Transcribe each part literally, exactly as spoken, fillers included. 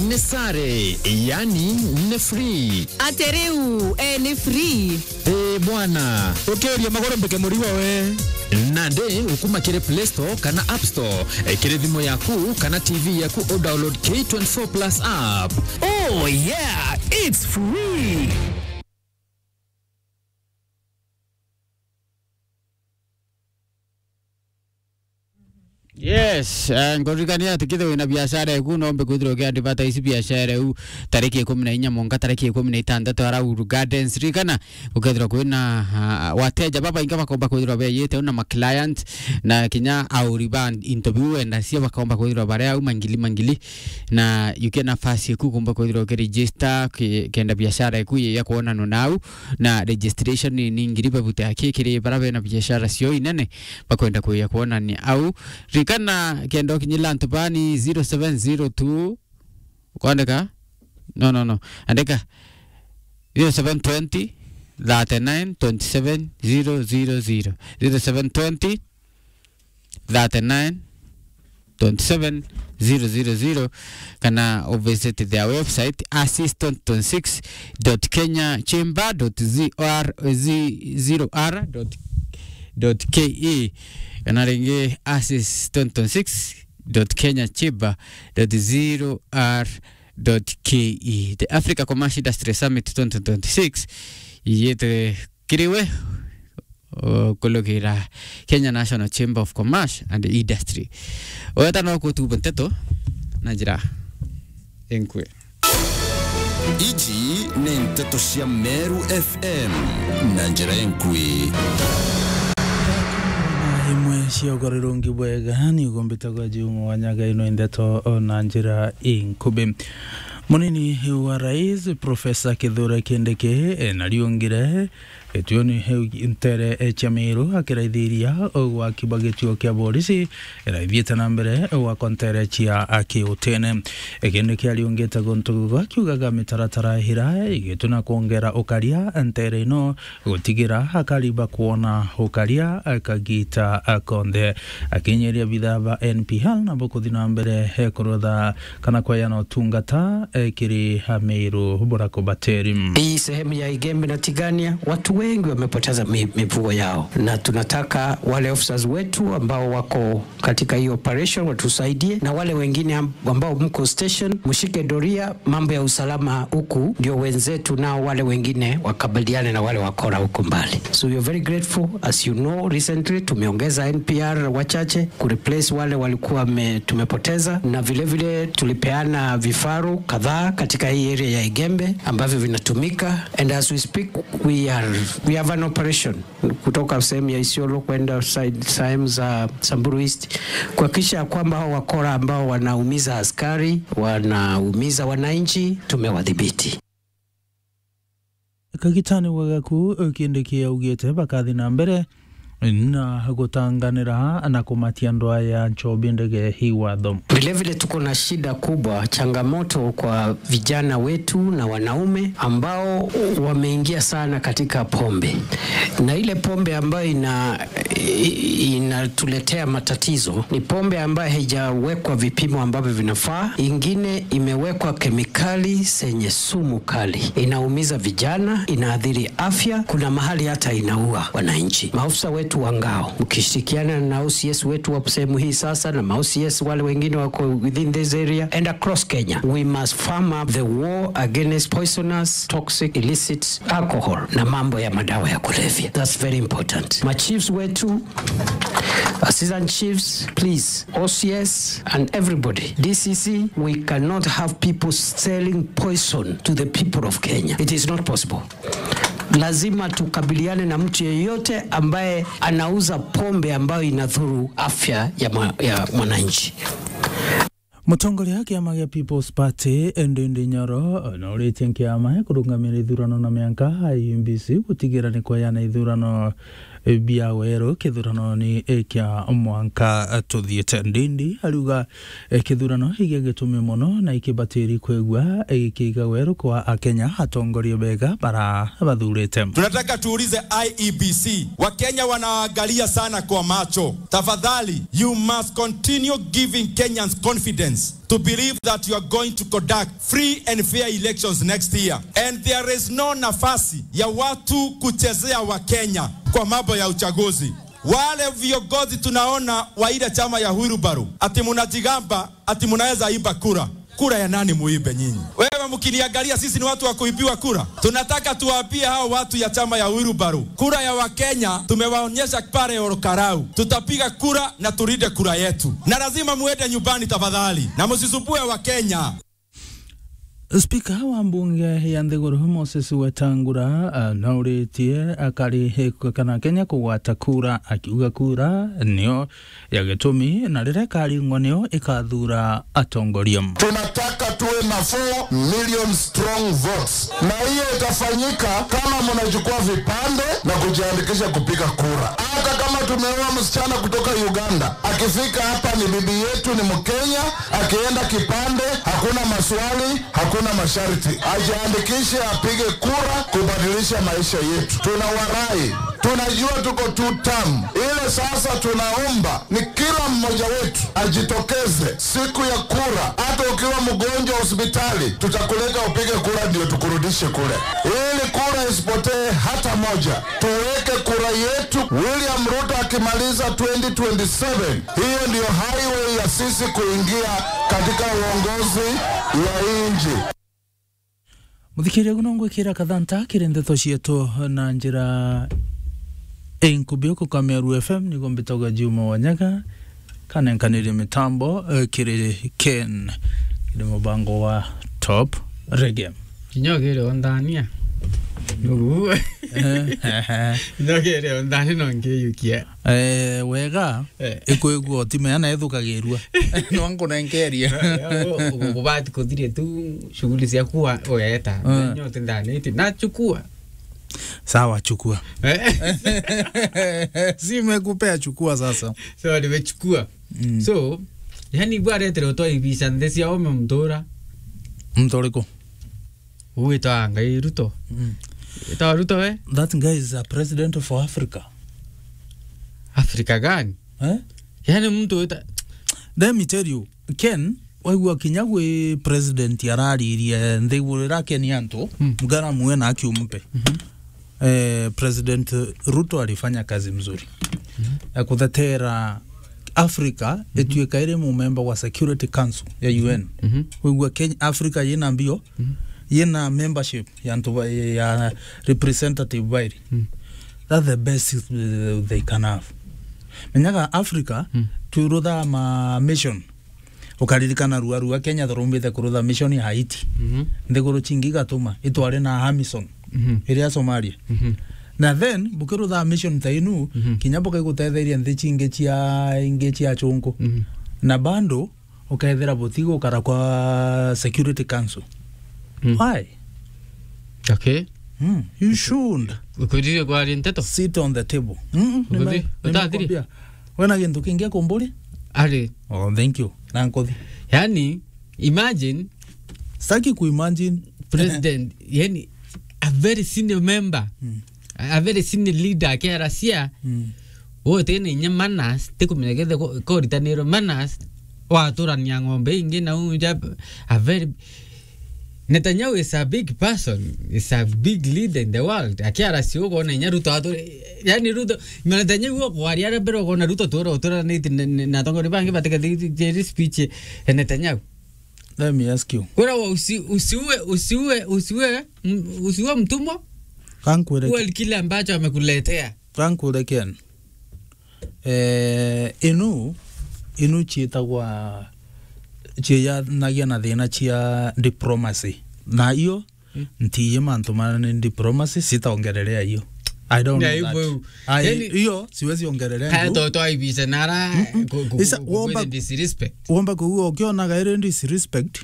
Ni sare, yani ni free. Ati riu, e, ni free? Ii bwana. Ukiuria maguru mbike murigo we. Nandi ukuma kiri Play Store kana App Store, e, kiri thimu yaku kana T V yaku, u download K twenty-four plus app. Oh yeah, it's free. Yes, eh, nkuririkania ati kethira wina biashara eku, no umbe kwithirwa uki advertise biashara eu tariki ikumi na inya mwanka tariki ikumi na itantatu ara Uhuru Gardens. Ririkana, gukethirwa kwina, ah, wateja babaingi bakomba kwithirwa beyite na ma client, na kinya auri ba into biu wenda cia bakomba kwithirwa bari au mangili mangili, na yukia nafasi eku kumba kwithirwa ukiregister ki-, kenda biashara eku ya kwonanwa nau, na registration ni, ni ngiri babuta aki kiri bara bena biashara cio inene bakwenda kuya kwonania au. Ririkana, kenda ukinyira antu bani zero seven zero two, ukwandika? No, no, no. Andika zero seven twenty, thirty-nine, twenty-seven, zero zero zero. Zero seven twenty, thirty-nine, twenty-seven, zero zero zero, kana u visit their website, assist twenty twenty-six dot kenya chamber dot zero r dot ke, kana ringi assist twenty twenty-six dot kenya chamber dot zero r dot ke. The Africa Commerce Industry Summit twenty twenty-six iyite kiriwe, uh, kulugira Kenya National Chamber of Commerce and Industry. Weta no kutuba nteto na njira inkui. Iji ni nteto cia Meru F M na njira inkui. Imwe cia ugarirungi bwega ni ugumbitagwa jiu mwanya ga ino nteto na njira inkubi. Munini wa rais, Profesa Kithure Kindiki, e, nariungire gituoni kiu ntere, e, cia Meru, akiraithiria ugwaki bwa gituo kia borisi, iraithiite na mbere gwakwa ntere cia, a, kiutene. E, Kindiki ariungite guntu gugu akiugaga mitaratara ira igituna kwongera ukaria ntere ino, gutigira akari bakwona ukaria kagita konthe. Akinyiria bithaa ba N P R nabo kuthi na mbere kurutha kana kweana utungata, eh, kiri Ameru burakubateri. Hii sehemu ya Igembe na Tigania, watu wengi wamepoteza mi-, mifugo yao, na tunataka wale officers wetu ambao wako katika hii operation watusaidie, na wale wengine am-, ambao mko station, mshike doria, mambo ya usalama huku, ndio wenzetu nao wale wengine wakabiliane na wale wakora huko mbali. So we are very grateful. As you know, recently tumeongeza N P R wachache kureplace wale walikuwa me-, tumepoteza, na vile vile tulipeana vifaru kadhaa katika hii area ya Igembe ambavyo vinatumika, and as we speak, we are, we have an operation kutoka sehemu ya Isiolo kwenda side, sehemu za Samburu East, kuhakikisha ya kwamba hao wakora ambao wanaumiza askari, wanaumiza wananchi, tumewadhibiti. Kagitani wa gaku, Kindiki augite bakathi na mbere na gutanganira na kumatia andu aya nchobi ndege hii watho. Vile vile tuko na shida kubwa, changamoto kwa vijana wetu na wanaume ambao wameingia sana katika pombe. Na ile pombe ambayo ina-, i-, inatuletea matatizo ni pombe ambayo haijawekwa vipimo ambavyo vinafaa, ingine imewekwa kemikali zenye sumu kali, inaumiza vijana, inaathiri afya, kuna mahali hata inaua wananchi. Maofisa wetu wa ngao, mkishirikiana na O C S wetu wa sehemu hii sasa na ma O C S wale wengine wako within this area and across Kenya, we must firm up the war against poisonous, toxic, illicit alcohol na mambo ya madawa ya kulevya. That's very important. Ma chiefs wetu, assistant chiefs, please, O C S and everybody, D C C, we cannot have people selling poison to the people of Kenya. It is not possible. Lazima tukabiliane na mtu yeyote ambaye anauza pombe ambayo inadhuru afya ya mwa-, ya mwananchi. Mutongoria wa kiama gia People's Party, Ndindi Nyoro, nauritie kiama kurungamira ithurano na mianka I E B C gutigira ni kweana ithurano bia weru kithurano ni kia mwanka tuthiite. Ndindi ariuga, eh, kithurano igia gitumi mono na ikibatiri kwigua ikiiga weru kwa Akenya atongoria bega bara bathurite. Tunataka tuulize I E B C. Wakenya wanaangalia sana kwa macho. Tafadhali, you must continue giving Kenyans confidence to believe that you are going to conduct free and fair elections next year. And there is no nafasi ya watu kuchezea Wakenya kwa mambo ya uchaguzi. Wale viongozi tunaona wa ile chama ya Wheelbarrow, ati mnajigamba, ati mnaweza iba kura. Kura ya nani muibe nyinyi? Wewe mkiniangalia, sisi ni watu wa kuibiwa kura? Tunataka tuwaambie hao watu ya chama ya Wheelbarrow, kura ya Wakenya tumewaonyesha pale Ol Kalou. Tutapiga kura na tulinde kura yetu. Na lazima muende nyumbani tafadhali. Na msisumbue Wakenya. Spika wa mbunge ya nthiguru Moses Wetangula, ah, nauritie akari kana Kenya kugwata kura, akiuga kura nio ya gitumi na riria ikaringwa nio ikathura atongoria. Tunataka tuwe na four million strong votes, na hiyo itafanyika kama mnachukua vipande na kujiandikisha kupiga kura. Hata kama tumeoa msichana kutoka Uganda, akifika hapa ni bibi yetu, ni Mkenya, akienda kipande, hakuna maswali, hakuna masharti. Ajiandikishe, apige kura kubadilisha maisha yetu. Tunawarai, tunajua tuko two term. Ile sasa tunaomba ni kila mmoja wetu ajitokeze siku ya kura. Hata ukiwa mgonjwa hospitali, tutakuleta upige kura ndio tukurudishe kule. Ili kura isipotee hata moja, tuweke kura yetu. William Ruto akimaliza twenty twenty-seven, hiyo ndio highway ya sisi kuingia katika uongozi ya nchi. Muthikiria, guno ngwikira kathanta kiri ndeto cietu na njira inkubi uku ka Meru F M, niguo mbitagwa Juma Wanyaga, kanenkanirie mitambo, eh, kiri Ken, kiri mubango wa Top Reggae. Kinya ukiri onthania. Nugu. Eh, eh, eh. Kinya ukiri onthania no nkiyukia. Eh, wega, eh, ikwigua utimenya na ithukagirua. No nkunenkerie. Eh, eh, u-, u-, ubati kuthire tu shughuli ciaku wa-, ugeeta. Eh. Nyote ndani iti, nachukua. Sawa, chukua. Eh? Si imekupea, chukua sasa. So, nimechukua. Mm. So, yani, bwaretere utwa ibisa nthi cia ome mtura. Mtu uriku? Ugwitwa Ngai Ruto. Mm. Witwa Ruto we? That guy is a president for Africa. Africa gani? Eh? Yani mtu wita- Let me tell you, Ken, waigua kinya gwi president araririe nthi iguru irakeni antu, mm, mgara muwe na aki umpe. Mhm. Eh, President Ruto alifanya kazi mzuri, mhm, ya kuthetera Africa, mhm, ituika iri mumemba wa Security Council ya U N. Mhm. Waigua Kenya, Africa yina mbio, mhm, yina membership ya antu ba-, ya representative bairi. Mm. That's the best, uh, they can have. Menyaga Africa, mm, turutha ma mission. Ukaririkana rua rua Kenya thurumbite kurutha mission ya Haiti. Mhm. Nthiguru cingi igatuma itware na Hamison, mhm, iria Somalia. Mhm. Na then, bukirutha mission ta inu, mhm, kinya bukaigutetheria nthi cingi cia, ingi cia chunku. Mhm. Na bando, ukethira butigukara kwa Security Council. Mm. Why? Okay. Mm, you should. Ukwirire kwaria nteto? Sit on the table. Mm, mm, nime-, utathirie? Nimekwambia. Wena gintu kingi akumburi? Ari. Oh, thank you. Na nkuthi. Yani, imagine. Sitaki kuimagine. President, yani, a very senior member. Mm. A very senior leader akiaracia. Mm. Uti na inya manners, tikumenya kethe ko-, koritanirwe manners, waturania ng'ombe ingi na unja, a very, Netanyahu is a big person, is a big leader in the world. Akiaracia ukona inya Ruto atu-, yani Ruto, Netanyahu ukwaria aria mbere ukona Ruto tura, uturanite na, na, na atongoria bangi batikethithie speech ya Netanyahu. Let me ask you. Kura wa usi-, usiue, usiue, usiue, m-, usiue mtumwa. Kankwire ki- Uwe kile ambacho amekuletea. Kankwire Ken. Eh, inu, inu ciitagwa, ciiyanagia na thina cia diplomacy. Na iyo, mm, ntiye mantu manene diplomacy, sitaongelelea hiyo. I don't know that. Ai, yani, iyo, siwezi ongelelea haya ndu. To, to aibise nara, mm-mm. Ku-, ku-, isa, ku-, ku-, womba, disrespect. Womba kuigua ukionaga iri disrespect,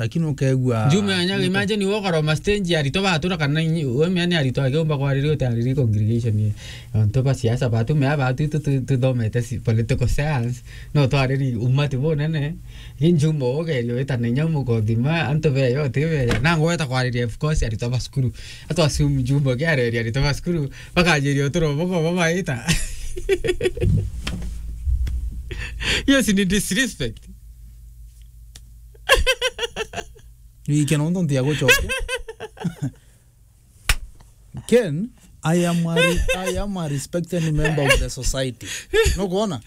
lakini ukegua Juma ya Nyaga, imagine wokaroma stage ya aritwa batura kana inyi-, we mea ni aritwa akiumba kwariri uti ariri congregation ye. Antu ba siasa batu mea batu tu, tu, tuthomete si political science, no twariri umati bunene. Injuma ugerio wita na inya mukothima antu beyo ti beya. Na ngweta kwariria, of course, aritwa ba cukuru. Atu assume Juma kiareria aritwa ba cukuru, bakanjiria uturo boko babaita. Yes, ni disrespect. Wike nontu ntiagucokia. Ken, I am a re-, I am a respected member of the society. Nukwona?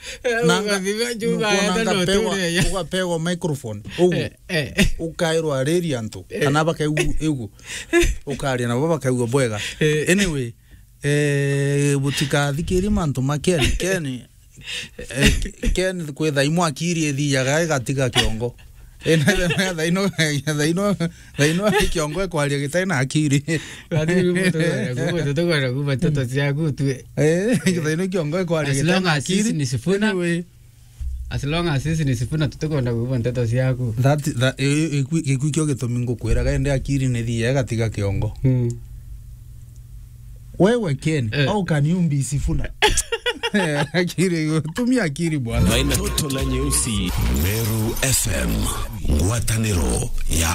Na nga-, ugathima Juma nukwona enda ngapewa, notureya. Ugapewa microphone. Ugu. Eh, eh. Ukairwa ariri antu. Eh. Kana bakaigua igu. Ukaria nabo bakaigua bwega. Eh. Anyway, eh, butikathikirie mantu ma Ken. Ken, eh, Ken kwitha imwe akiri ithiaga igatiga kiongo. Eh, na, na, na, thaino, thaino, thaino kiongo ekwaria gitari na akiri. Lakini tukwenda kuuma, tukwenda kuuma nteto ciaku tu. Eh, thaino kiongo ekwaria gitari na akiri. As long as sisi ni Sifuna. Anyway. As long as sisi ni Sifuna, tutikwenda kuuma nteto ciaku. That, that, eh, eh, gikui kio gitumi ngukwiraga ende akiri ni thia igatiga kiongo. Mm. Wewe Ken, eh, how can you be Sifuna? Akiri, tumia akiri bwana. Maina Toto na Nyeusi. Meru F M, ngwataniro ya